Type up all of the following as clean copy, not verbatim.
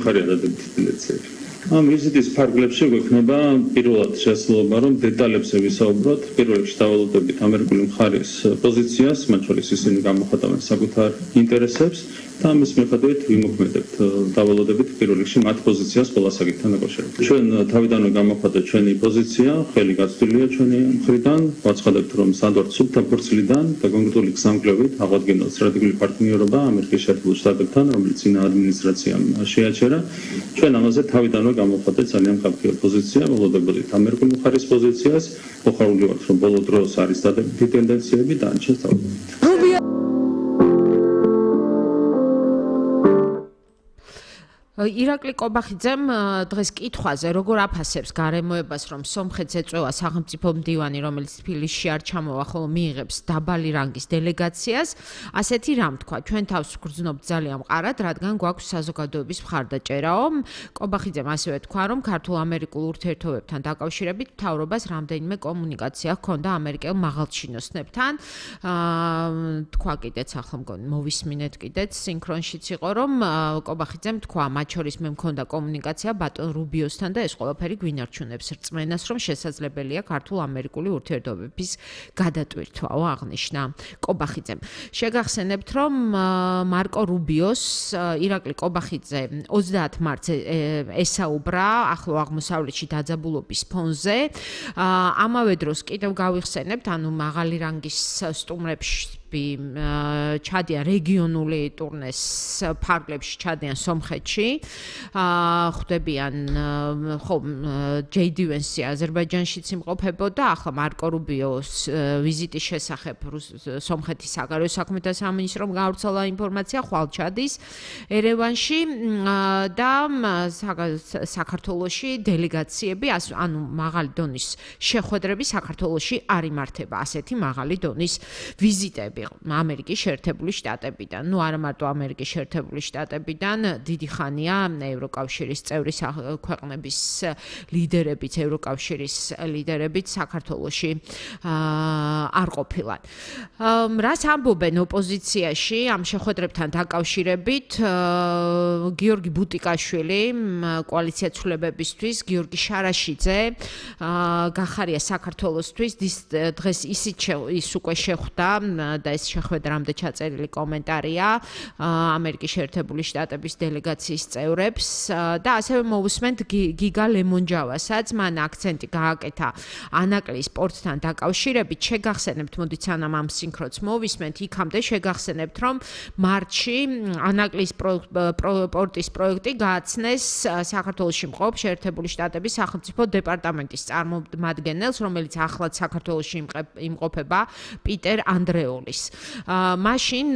ხარია დადებითი ბილეთები. ამ ვიზიტის ფარგლებში გვექნება პირველად შესაძლებლობა, რომ დეტალებზე ვისაუბროთ, პირველ რიგში დავალოდებით ამერიკული მხარის პოზიციას, მათ შორის ისინი გამოხატავენ საკუთარ ინტერესებს და ამის მიხედვით ვიმოქმედებთ დავალოდებით პირველ რიგში მათ პოზიციას ყველა საკითხთან დაკავშირებით. ჩვენ თავიდანვე გამოხატეთ ჩვენი პოზიცია, ხელი გაცვლილია ჩვენი მხრიდან, ვაცხადებთ, რომ სანდორ სუბთა ფორცლიდან და კონკრეტული გზამკვლევით აღვადგინოთ სტრატეგიული პარტნიორობა ამერიკის შეერთებულ შტატებთან, რომელიც წინა ადმინისტრაციამ შეაჩერა. ჩვენ ამაზე თავიდანვე გამოხატეთ ძალიან მკაფიო პოზიცია, ველოდებოდით ამერიკული მხარის პოზიციას, მოხარული ვართ, რომ ბოლო დროს არის დადებითი ტენდენციები და ანჩეს თავიდანვე. ირაკლი კობახიძემ დღეს კითხვაზე როგორ აფასებს გარემოებას, რომ სომხეთს ეწევა სახელმწიფო მდივანი, რომელიც თბილისში არ ჩამოვა, ხოლო მიიღებს დაბალი რანგის დელეგაციას, ასეთი რამ თქვა, ჩვენ თავს ვგრძნობთ ძალიან მყარად, რადგან გვაქვს საზოგადოების მხარდაჭერაო. კობახიძემ ასევე თქვა, რომ ქართულ-ამერიკულ ურთიერთობებთან დაკავშირებით მთავრობას რამდენიმე კომუნიკაცია ჰქონდა ამერიკელ მაღალჩინოსნებთან. თქვა კიდეც ახლა მგონი მოვისმინეთ კიდეც სინქრონშიც იყო, რომ კობახიძემ თქვა შორის მე მქონდა კომუნიკაცია ბატონ რუბიოსთან და ეს ყველაფერი გვინარჩუნებს რწმენას, რომ შესაძლებელია ქართულ-ამერიკული ურთიერთობების გადატვირთვაო აღნიშნა კობახიძემ. შეგახსენებთ, რომ მარკო რუბიოს ირაკლი კობახიძე 30 მარტს ესაუბრა ახლო აღმოსავლეთში დაძაბულობის ფონზე. ამავე დროს კიდევ გავიხსენებთ, ანუ მაღალი რანგის სტუმრებში ჩადიან რეგიონული ტურნეს ფარგლებში ჩადიან სომხეთში. ხვდებიან ხო ჯეიდი ვენსი აზერბაიჯანშიც იმყოფებოდა, ახლა მარკო რუბიოს ვიზიტის შესახებ სომხეთის საგარეო საქმეთა სამინისტრომ გავრცელა ინფორმაცია, ხვალ ჩადის ერევანში და საქართველოში დელეგაციები, ანუ მაღალი დონის შეხვედრები საქართველოში არ იმართება, ასეთი მაღალი დონის ვიზიტები ამერიკის შეერთებული შტატებიდან. ნუ არა მარტო ამერიკის შეერთებული შტატებიდან, დიდი ხანია ევროკავშირის წევრი ქვეყნების ლიდერებიც, ევროკავშირის ლიდერებიც საქართველოში არ ყოფილან. რას ამბობენ ოპოზიციაში ამ შეხვედრებთან დაკავშირებით? გიორგი ბუტიკაშვილი, კოალიცია ცვლილებებისთვის, გიორგი შარაშიძე გახარია საქართველოსთვის, დღეს ის უკვე შეხვდა და ეს შეხვედრამდე ჩაწერილი კომენტარია ამერიკის შეერთებული შტატების დელეგაციის წევრებს და ასევე მოვუსმენთ გიგა ლემონჯავასაც, მან აქცენტი გააკეთა ანაკლის სპორტთან დაკავშირებით. შეგახსენებთ, მოდით სანამ ამ სინქრონს მოვისმენთ, იქამდე შეგახსენებთ, რომ მარტში ანაკლის სპორტის პროექტი გააცნეს საქართველოში მყოფ შეერთებული შტატების სახელმწიფო დეპარტამენტის წარმომადგენელს, რომელიც ახლად საქართველოში იმყოფება პიტერ ანდრეოლის. მაშინ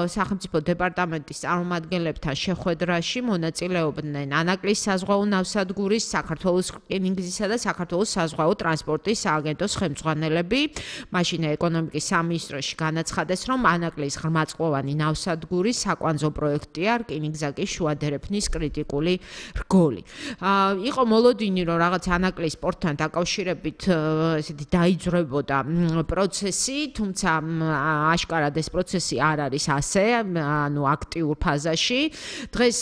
სახელმწიფო დეპარტამენტის წარმომადგენლებთან შეხვედრაში მონაწილეობდნენ ანაკლის საზღვაო ნავსადგურის, საქართველოს რკინიგზისა და საქართველოს საზღვაო ტრანსპორტის სააგენტოს ხელმძღვანელები. მაშინ ეკონომიკის სამინისტროში განაცხადეს, რომ ანაკლის ღრმაწყლოვანი ნავსადგურის საკვანძო პროექტია, რკინიგზა კი შუა დერეფნის კრიტიკული რგოლი. იყო მოლოდინი, რომ რაღაც ანაკლის სპორტთან დაკავშირებით ესეთი დაიძრებოდა პროცესი, თუმცა აშკარად ეს პროცესი არ არის ასე, ანუ აქტიურ ფაზაში. დღეს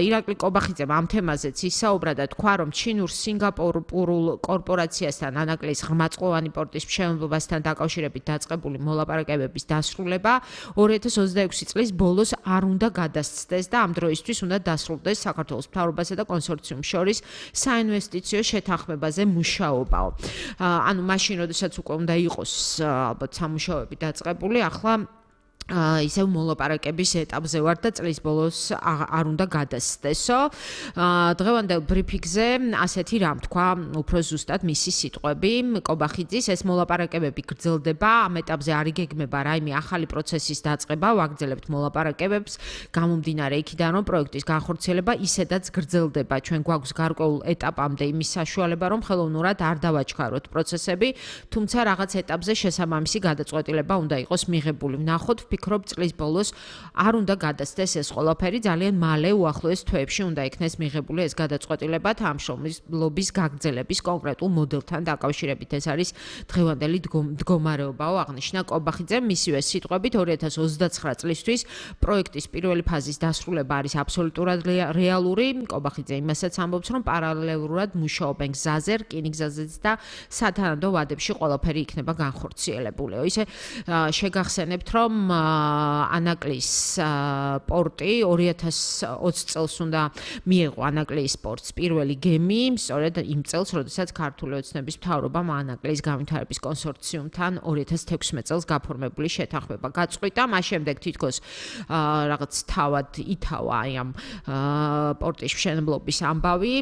ირაკლი კობახიძემ ამ თემაზეც ისაუბრა და თქვა, რომ ჩინურ-სინგაპურულ კორპორაციასთან ანაკლის ღრმაწყლოვანი პორტის მშენებლობასთან დაკავშირებით დაწყებული მოლაპარაკებების დასრულება 2026 წლის ბოლოს არ უნდა გადასცდეს და ამ დროისთვის უნდა დასრულდეს საქართველოს მთავრობასა და კონსორციუმს შორის საინვესტიციო შეთანხმებაზე მუშაობაო. ანუ მაშინ, როდესაც უკვე უნდა იყოს ალბათ სამუშაოები დაწყებული, ახლა ისევ მოლაპარაკების ეტაპზე ვარ და წლის ბოლოს არ უნდა გადასცდესო. დღევანდელ ბრიფინგზე ასეთი რამ თქვა უფრო ზუსტად მისი სიტყვები კობახიძის, ეს მოლაპარაკებები გრძელდება, ამ ეტაპზე არ იგეგმება რაიმე ახალი პროცესის დაწყება, ვაგრძელებთ მოლაპარაკებებს, გამომდინარე იქიდან, რომ პროექტის განხორციელება ისედაც გრძელდება. ჩვენ გვაქვს გარკვეულ ეტაპამდე იმის საშუალება, რომ ხელოვნურად არ დავაჩქაროთ პროცესები, თუმცა რაღაც ეტაპზე შესაბამისი გადაწყვეტილება უნდა იყოს მიღებული. ვნახოთ ვფიქრობ, წლის ბოლოს არ უნდა გადასცეს ეს ყველაფერი, ძალიან მალე უახლოეს თვეებში უნდა იქნეს მიღებული ეს გადაწყვეტილება ამ შრომის გაგრძელების კონკრეტულ მოდელთან დაკავშირებით. ეს არის დღევანდელი მდგომარეობაო, აღნიშნა კობახიძემ. მისივე სიტყვებით 2029 წლისთვის პროექტის პირველი ფაზის დასრულება არის აბსოლუტურად რეალური. კობახიძე იმასაც ამბობს, რომ პარალელურად მუშაობენ გზაზე, რკინიგზაზეც და სათანადო ვადებში ყველაფერი იქნება განხორციელებულიო. ისე შეგახსენებთ, რომ ანაკლის პორტი 2020 წელს უნდა მიეღო ანაკლის პორტს პირველი გემი, სწორედ იმ წელს, როდესაც ქართული ოცნების მთავრობამ ანაკლის განვითარების კონსორციუმთან 2016 წელს გაფორმებული შეთანხმება გაწყვიტა. მას შემდეგ თითქოს რაღაც თავად ითავა აი ამ პორტის მშენებლობის ამბავი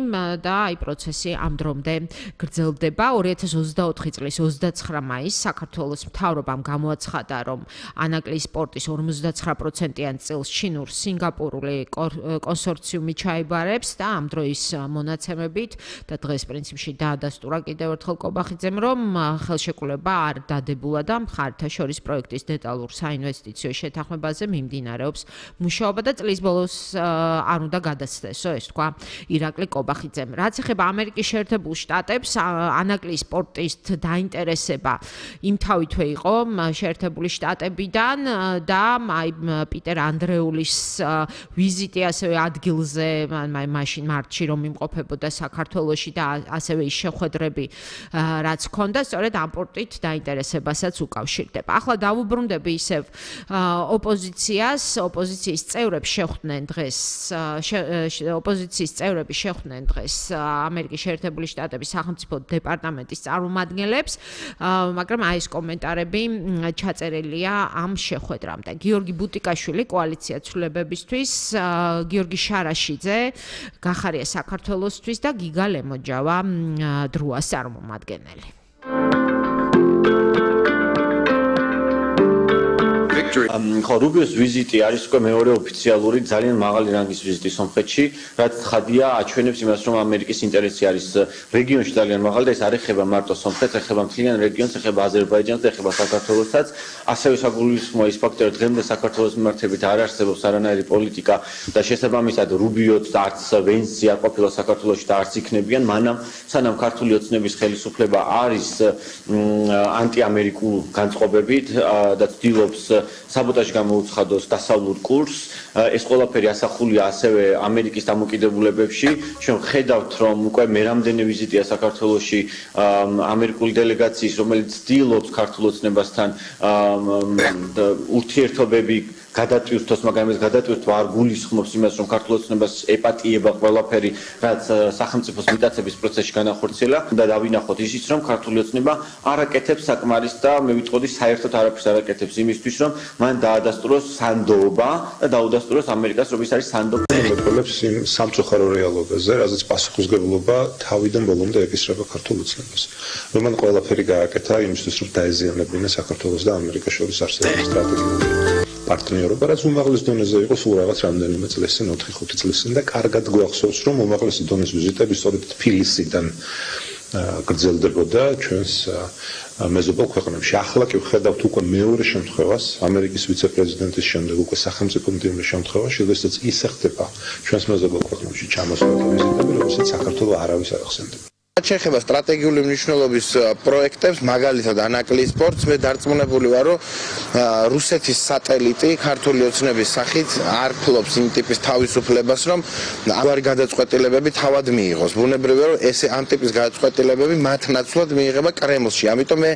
და აი პროცესი ამ დრომდე გრძელდება. 2024 წლის 29 მაისს საქართველოს მთავრობამ გამოაცხადა, რომ ანაკლის პორტის 59%-იან წილს ჩინურ სინგაპურული კონსორციუმი ჩაიბარებს და ამ დროის მონაცემებით და დღეს პრინციპში დაადასტურა კიდევ ერთხელ კობახიძემ, რომ ხელშეკრულება არ დადებულა და მხარეთა შორის პროექტის დეტალურ საინვესტიციო შეთანხმებაზე მიმდინარეობს მუშაობა და წლის ბოლოს არ უნდა გადასცესო, ეს თქვა ირაკლი კობახიძემ. რაც ეხება ამერიკის შეერთებულ შტატებს, ანაკლის პორტის დაინტერესება იმთავითვე იყო შეერთებული შტატებიდან და აი პიტერ ანდრეულის ვიზიტი ასევე ადგილზე მაშინ მარტში რომ იმყოფებოდა საქართველოში და ასევე ის შეხვედრები რაც ჰქონდა, სწორედ ამ პორტით დაინტერესებასაც უკავშირდება. ახლა დავუბრუნდები ისევ ოპოზიციის წევრები შეხვდნენ დღეს ამერიკის შეერთებული შტატების სახელმწიფო დეპარტამენტის წარმომადგენლებს, მაგრამ აი ეს კომენტარები ჩაწერილია ამ შეხვედრამდე. გიორგი ბუტიკაშვილი კოალიცია ცვლილებებისთვის, გიორგი შარაშიძე გახარია საქართველოსთვის და გიგა ლემოჯავა დრუას წარმომადგენელი. ხო, რუბიოს ვიზიტი არის უკვე მეორე ოფიციალური ძალიან მაღალი რანგის ვიზიტი სომხეთში, რაც ცხადია აჩვენებს იმას, რომ ამერიკის ინტერესი არის რეგიონში ძალიან მაღალი და ეს არ ეხება მარტო სომხეთს, ეხება მთლიან რეგიონს, ეხება აზერბაიჯანს და ეხება საქართველოსაც. ასევე საგულისხმოა ის ფაქტი, რომ დღემდე საქართველოს მიმართებით არ არსებობს არანაირი პოლიტიკა და შესაბამისად რუბიოც და არც ვენსი არ ყოფილა საქართველოში და არც იქნებიან, სანამ ქართული ოცნების ხელისუფლება არის ანტიამერიკულ განწყობებით და ცდილობს საბოტაჟი გამოუცხადოს დასავლურ კურსს. ეს ყველაფერი ასახულია ასევე ამერიკის დამოკიდებულებებში. ჩვენ ხედავთ, რომ უკვე მერამდენი ვიზიტია საქართველოში ამერიკული დელეგაციის, რომელიც ცდილობს ქართულ ოცნებასთან ურთიერთობები გადატვირთოს, მაგრამ ეს გადატვირთვა არ გულისხმობს იმას, რომ ქართულ ოცნებას ეპატიება ყველაფერი, რაც სახელმწიფოს მიტაცების პროცესში განახორციელა და დავინახოთ ისიც, რომ ქართული ოცნება არ აკეთებს საკმარის და მე ვიტყოდი საერთოდ არაფერს არ აკეთებს იმისთვის, რომ მან დაადასტუროს სანდოობა და დაუდასტუროს ამერიკას, რომ ის არის სანდოობა. მეკვლებს იმ სამწუხარო რეალობაზე, რაზეც პასუხისმგებლობა თავიდან ბოლომდე ეკისრება ქართულ ოცნებას. რომ მან ყველაფერი გააკეთა იმისთვის, რომ დაეზიანებინა საქართველოს და ამერიკას შორის არსებული სტრატეგიული პარტნიორობა, რაც უმაღლეს დონეზე იყო სულ რაღაც რამდენიმე წლის წინ, 4-5 წლის წინ და კარგად გვახსოვს, რომ უმაღლესი დონის ვიზიტები სწორედ თბილისიდან გრძელდებოდა ჩვენს მეზობელ ქვეყნებში. ახლა კი ვხედავთ უკვე მეორე შემთხვევას, ამერიკის ვიცე-პრეზიდენტის შემდეგ უკვე სახელმწიფო მდივნის შემთხვევაში, როდესაც ისე ხდება ჩვენს მეზობელ ქვეყნებში ჩამოსვლა და ვიზიტები, როდესაც საქართველოს არავის არ ახსენდება. შეხება სტრატეგიული მნიშვნელობის პროექტებს, მაგალითად ანაკლის პორტს, მე დარწმუნებული ვარ, რომ რუსეთის სატელიტი ქართული ოცნების სახით არ ფლობს იმ ტიპის თავისუფლებას, რომ ამგვარი გადაწყვეტილებები თავად მიიღოს. ბუნებრივია, რომ ეს ამ ტიპის გადაწყვეტილებები მათ ნაცვლად მიიღება კრემლში. ამიტომ მე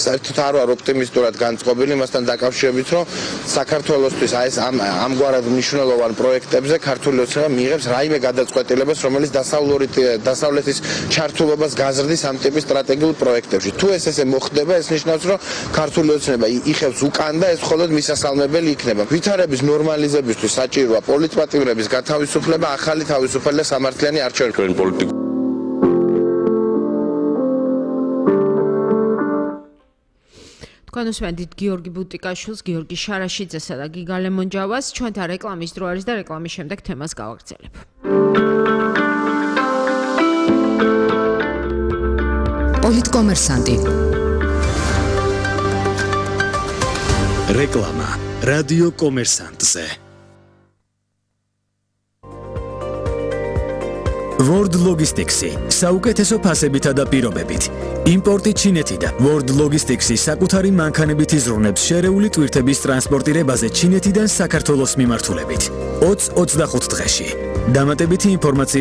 საერთოდ არ ვარ ოპტიმისტურად განწყობილი იმასთან დაკავშირებით, რომ საქართველოსთვის ეს ამგვარად მნიშვნელოვან პროექტებზე ქართული ოცნება მიიღებს რაიმე გადაწყვეტილებას, რომელიც დასავლეთის ჩართულობას გაზრდის ამ ტიპის სტრატეგიულ პროექტებში. თუ ესე მოხდება, ეს ნიშნავს, რომ ქართული ოცნება იხევს უკან და ეს მხოლოდ მისასალმებელი იქნება. ვითარების ნორმალიზებისთვის საჭიროა პოლიტპატიმრების გათავისუფლება, ახალი თავისუფალი და სამართლიანი არჩევნები. თქვენ უსმენთ გიორგი ბუტიკაშვილს, გიორგი შარაშიძესა და გიგა ლემონჯავას. ჩვენთან რეკლამის დრო არის და რეკლამის შემდეგ თემას გავაგრძელებ. პოლიტკომერსანტი. რეკლამა. რადიო კომერსანტზე. World Logistics-ი საუკეთესო ფასებითა და პირობებით. იმპორტი ჩინეთიდან. World Logistics-ი საკუთარი მანქანებით იზრუნებს შერეული ტვირთების ტრანსპორტირებაზე ჩინეთიდან საქართველოს მიმართულებით. 20-25 დღეში. დამატებითი ინფორმაციის